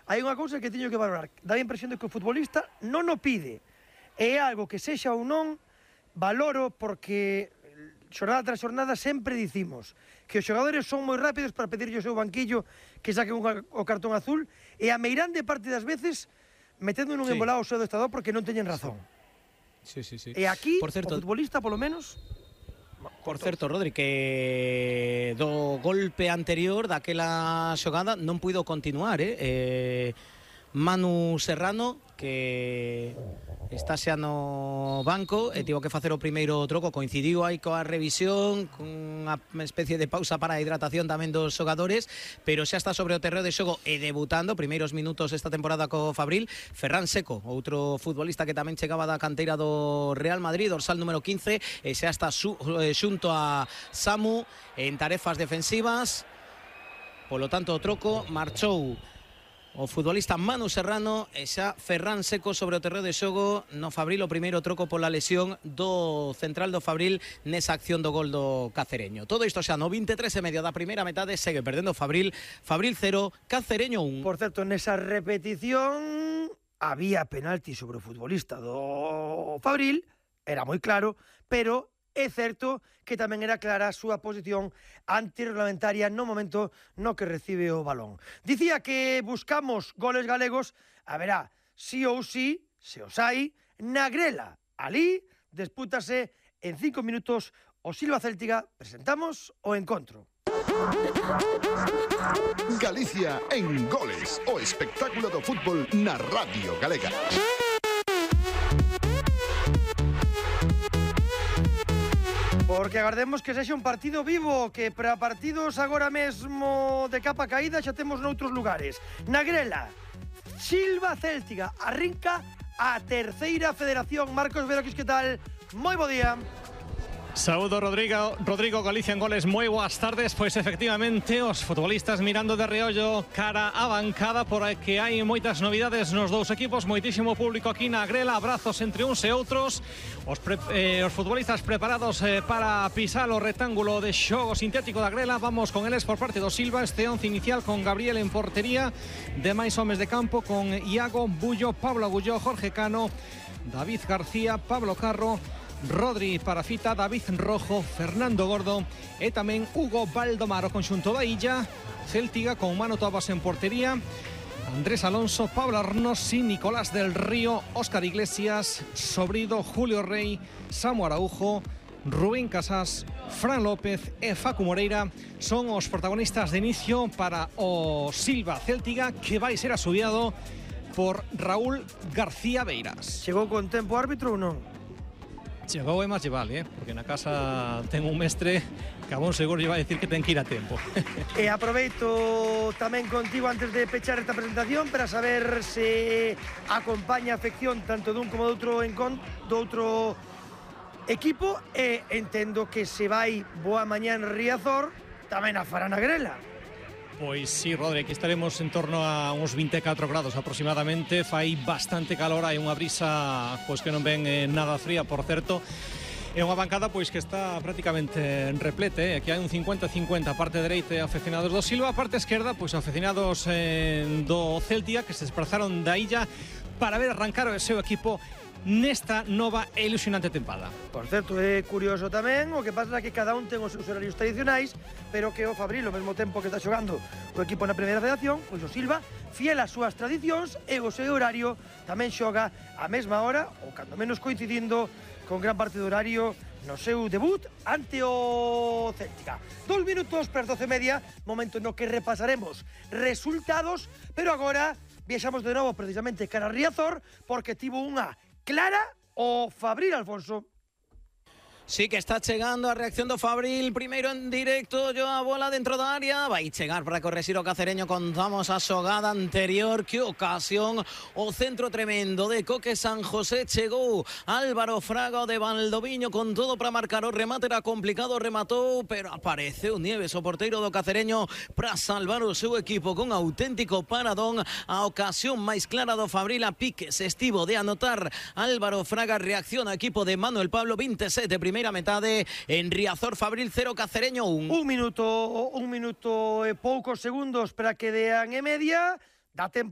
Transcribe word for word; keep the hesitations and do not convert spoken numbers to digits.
Hai unha cousa que teño que valorar. Dá a impresión de que o futbolista non o pide. É algo que sexa ou non, valoro porque xornada tras xornada sempre dicimos que os xogadores son moi rápidos para pedirlle o seu banquillo que saquen o cartón azul e a meirande parte das veces metendo nun sí. embolado o seu adestrador porque non teñen razón. Sí, sí, sí. E aquí, por certo, o futbolista, polo menos... Por certo, Rodri, que do golpe anterior daquela xogada non puido continuar, eh? eh Manu Serrano, que está xa no banco e tivo que facer o primeiro troco, coincidiu aí coa revisión, cunha especie de pausa para a hidratación tamén dos xogadores, pero xa está sobre o terreo de xogo e debutando, primeiros minutos esta temporada co Fabril, Ferran Seco, outro futbolista que tamén chegaba da canteira do Real Madrid, dorsal número quince, e xa está su, eh, xunto a Samu en tarefas defensivas. Polo tanto, o troco marchou o futbolista Manu Serrano e xa Ferran Seco sobre o terreo de xogo no Fabril, o primeiro troco pola lesión do central do Fabril nesa acción do gol do Cacereño. Todo isto xa no vinte e tres e medio da primeira metade, segue perdendo Fabril, Fabril cero, Cacereño un. Por certo, nesa repetición había penalti sobre o futbolista do Fabril, era moi claro, pero é certo que tamén era clara a súa posición antirreglamentaria no momento no que recibe o balón. Dicía que buscamos goles galegos, a verá, sí ou sí, se os hai, na grela. Alí dispútase en cinco minutos o Silva Céltiga. Presentamos o encontro. Galicia en goles, o espectáculo do fútbol na Radio Galega. Porque agardemos que sexa un partido vivo, que para partidos agora mesmo de capa caída xa temos noutros lugares. Na grela, Silva Céltiga, arrinca a terceira federación. Marcos Veroquis, que tal? Moi bo día. Saúdo, Rodrigo, Rodrigo, Galicia en goles, moi boas tardes. Pois efectivamente, os futbolistas mirando de reollo cara á bancada, porque hai moitas novidades nos dous equipos, moitísimo público aquí na grela, abrazos entre uns e outros. Os, pre, eh, os futbolistas preparados eh, para pisar o rectángulo de xogo sintético da grela. Vamos con eles por parte do Silva, este once inicial con Gabriel en portería, demais homes de campo con Iago, Bullo, Pablo Agulló, Jorge Cano, David García, Pablo Carro, Rodri Parafita, David Rojo, Fernando Gordo e tamén Hugo Baldomar. O conxunto da Illa, Céltiga con Manu Tobas en portería, Andrés Alonso, Pablo Arnosi, Nicolás del Río, Óscar Iglesias, Sobrido, Julio Rey, Samu Araujo, Rubén Casas, Fran López e Facu Moreira son os protagonistas de inicio para o Silva Céltiga, que vai ser asubiado por Raúl García Beiras. Chegou con tempo árbitro ou non? Chegou é máis vale, eh? Porque na casa ten un mestre que a bon seguro lle vai dicir que ten que ir a tempo. E aproveito tamén contigo antes de pechar esta presentación para saber se acompaña a afección tanto dun como do outro encont do outro equipo, e entendo que se vai boa mañá en Riazor tamén a fará na grela. Pois sí, Rodri, aquí estaremos en torno a uns vinte e catro grados aproximadamente. Fai bastante calor, hai unha brisa pois que non ven eh, nada fría, por certo. É unha bancada pois que está prácticamente en replete, eh? Aquí hai un cincuenta cincuenta, a parte dereita afeccionados do Silva, a parte esquerda pois afeccionados eh, do Celtia, que se desplazaron da Illa para ver arrancar o seu equipo nesta nova e ilusionante tempada. Por certo, é curioso tamén, o que pasa é que cada un ten os seus horarios tradicionais, pero que o Fabril, ao mesmo tempo que está xogando o equipo na primeira federación, pois o Silva, fiel ás súas tradicións e o seu horario, tamén xoga a mesma hora, ou cando menos coincidindo con gran parte do horario no seu debut ante o Céltica. Dos minutos para as doce e media, momento no que repasaremos resultados, pero agora viaxamos de novo precisamente cara a Riazor, porque tivo unha clara o Fabril, Alfonso. Sí que está chegando a reacción do Fabril, primeiro en directo, yo a bola dentro da área, vai chegar para correxir o Cacereño. Contamos a xogada anterior, que ocasión, o centro tremendo de Coque San José, chegou Álvaro Fraga de Valdoviño con todo para marcar, o remate era complicado, rematou, pero apareceu Nieves, o porteiro do Cacereño, para salvar o seu equipo con auténtico paradón. A ocasión máis clara do Fabril, a piques estivo de anotar Álvaro Fraga, reacciona equipo de Manuel Pablo, vinte e sete primeira metade en Riazor, Fabril cero, Cacereño un. Un minuto, un minuto e poucos segundos para que dean e media. da tempo